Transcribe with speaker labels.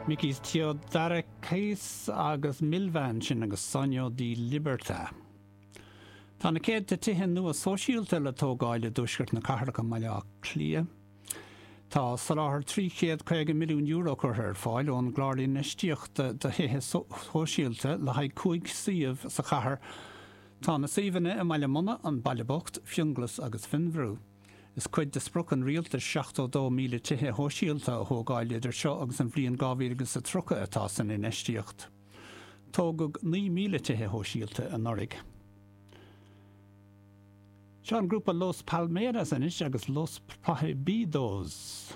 Speaker 1: Mikis Theodorakis agus Milva ansin agus Sogno di Libertà. Tá na céadta tithe nua sóisialta le tógáil i dtuaisceart na cathrach i mBaile Átha Cliath. Tá soláthar €350 milliún curtha ar fáil ón gClár Infheistíochta do Thithe Sóisialta le haghaidh 5 suíomh sa chathair. Tá na suíomhanna i mBaile Munna, An Baile Bocht, Fionnghlas agus Fionnbhrú. Is cuid de sprioc an rialtais 72,000 tithe shóisialta a thógáil idir seo agus an bhliain 2030 atá san infheistíocht. Tógadh 9,000 tithe shóisialta anuraidh. Seo an grúpa Los Palmeras anois agus Los Prohibidos.